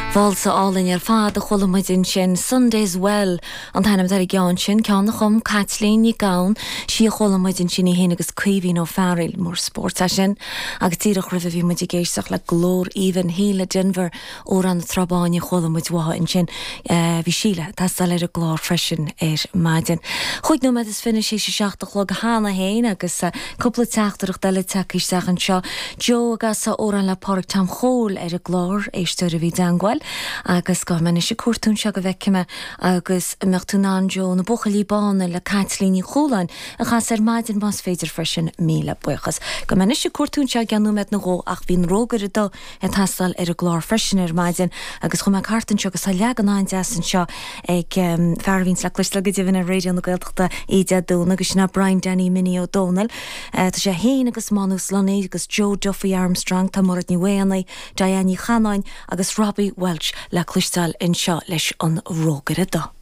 Válsa álainn ar fad a chuala muid ansin, Sunday's Well an t-ainm atá ar an gceann sin, ceann a chum Caitlín Nic Gabhann, sí a chuala muid ansin í féin agus Caoimhín Ó Fearghail, mór spóirt é sin. Agus díreach roimhe bhí muid ag éisteacht le glór aoibhinn Shíle Denvir, Amhrán na Trá Báine a chuala muid uaithi ansin. Bhí Síle ag teastáil ar an gclár freisin ar maidin. Chúig nóiméad is fiche théis a seacht a chlog cheana féin agus cúpla teachtaireacht eile tagtha isteach anseo. Joe ag casadh amhrán le Pádraig Tom Chóil ar an gclár, éisteoir a bhí i dteangmháil agus gabhfaidh mé anois ag cuartú anseo go bhfeicfidh mé agus an mbeadh tú in ann Joe, Na Buachaillí Bána le Caitlín Ní Chualáin a chasadh ar maidin más féidir freisin, míle buíochas. Gabhfaidh mé anois ag cuartú anseo i gceann nóiméad nó dhó ach bhí an Rógaire Dubh ag teastáil ar an gclár freisin ar maidin agus chuaigh mé thart anseo agus tá leagan an-deas anseo ag fear a bhíonns le cloisteáil go deimhin ar Raidió na Gaeltachta oíche Dé Domhnaigh agus sin é Brian Danny Minnie Ó Dónaill. Tá sé féin agus Manus Lunny agus Joe Duffy Armstrong, tá Mairéad Ní Mhaonaigh, Diane Ní Chanáin agus Robbie Walsh le cloisteáil anseo leis an Rógaire Dubh.